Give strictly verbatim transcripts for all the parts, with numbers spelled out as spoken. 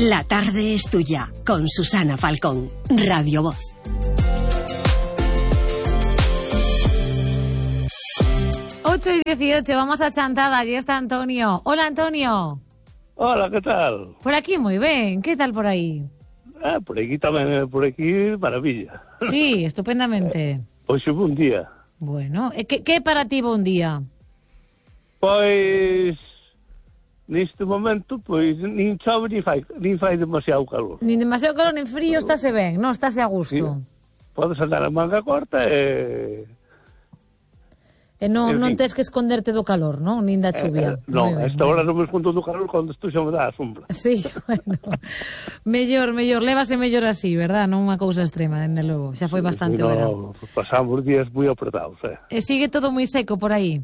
La tarde es tuya, con Susana Falcón, Radio Voz. ocho y dieciocho, vamos a Chantada, allí está Antonio. Hola, Antonio. Hola, ¿qué tal? Por aquí muy bien, ¿qué tal por ahí? Ah, por aquí tamén, por aquí, maravilla. Sí, estupendamente. Hoxe foi un día. Bueno, ¿qué, qué para ti un día? Pois, neste momento, pois, nin chove, nin fai, nin fai demasiado calor. Nin demasiado calor, nin frío, estáse ben, non? Estáse a gusto. Sí. Podes andar a manga corta e... E non, en non fin. tes que esconderte do calor, non? Nin da chuvia. Eh, non, a esta hora non me escondo do calor cando estou xa me dá a sombra. Sí, bueno. mellor, mellor, lévase mellor así, verdad? Non unha cousa extrema, dende logo. Xa foi bastante no, verán. Pasamos días moi apretados, eh. E sigue todo moi seco por aí?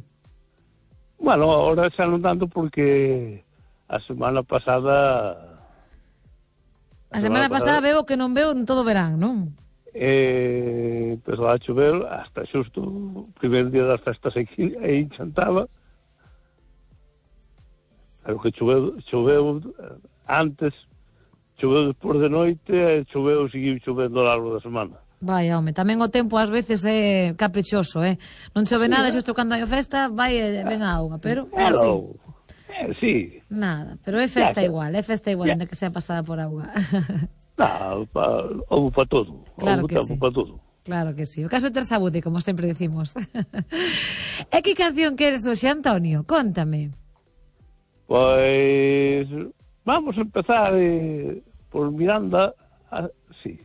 Bueno, ahora xa non tanto porque a semana pasada... A semana pasada veo que non veo en todo verán, non? Eh, empezou a chover hasta xusto o primeiro día das festas aquí aí chantaba, pero que choveu, choveu antes, choveu despois de noite e choveu, seguiu chovendo ao largo da semana. Vai, home, tamén o tempo ás veces é caprichoso, eh? Non chove nada, xusto cando hai festa, vai e ven a auga, pero... Hello. Eh, sí. Nada, pero é festa Ya, igual, é festa igual, ya. ainda que sea pasada por auga. Non, pa, houve para todo. Claro houve que tempo sí. para todo. Claro que sí. O caso é ter saúde, como sempre decimos. E que canción queres hoxe, Antonio? Cóntame. Pois vamos a empezar eh, por Miranda, a, sí,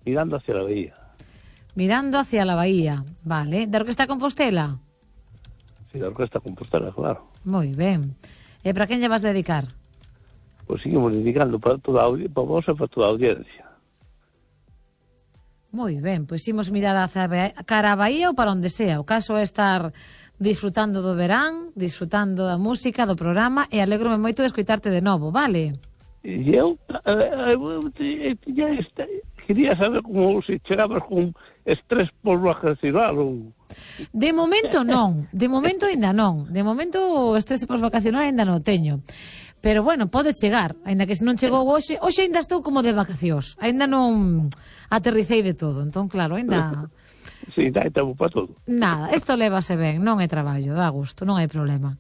Miranda hacia la bahía. Mirando hacia la bahía, vale. Da Orquesta Compostela? Sí, la Orquesta Compostela, claro. Moi ben. E para quen lle vas dedicar? Pois seguimos dedicando para toda a audiencia, para vos e para toda a audiencia. Moi ben, pois imos mirar hacia a cara a bahía ou para onde sea. O caso é estar disfrutando do verán, disfrutando da música, do programa, e alégrome moito de escoitarte de novo, vale? E eu, eh, eu tiña este, quería saber como se chegabas con estrés por vacacional ou... De momento non, de momento ainda non. De momento o estrese pós-vacacional ainda non o teño. Pero bueno, pode chegar, aínda que se non chegou hoxe, hoxe ainda estou como de vacacións, aínda non aterricei de todo, entón claro, aínda... Sí, dai tempo para todo. Nada, isto lévase ben, non é traballo, dá gusto, non hai problema.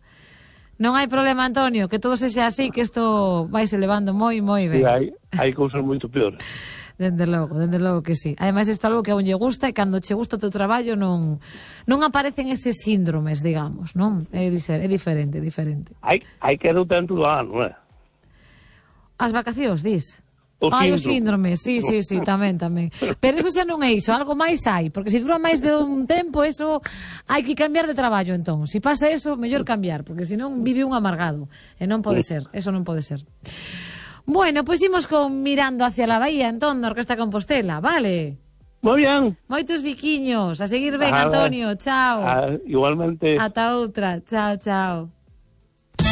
Non hai problema, Antonio, que todo sexa así, que isto vaise levando moi, moi ben. Sí, hai, hai cousas moito peores. Dende logo, dende logo que sí. Ademais, isto é algo que a un lle gusta e cando che gusta o teu traballo non non aparecen eses síndromes, digamos, non? É, é diferente, é diferente. Hai, hai que do tanto do ano, eh? As vacacións, dis? O Ai, o síndrome. síndrome, sí, sí, sí, tamén, tamén. Pero eso xa non é iso, algo máis hai, porque se dura máis de un tempo, eso hai que cambiar de traballo, entón. Se pasa eso, mellor cambiar, porque senón vive un amargado. E non pode ser, eso non pode ser. Bueno, pois imos con Mirando hacia la bahía, entón, da Orquesta Compostela, vale? Moi bien. Moitos biquiños, a seguir ben, Ah, Antonio, chao. Ah, igualmente. Ata outra, chao, chao.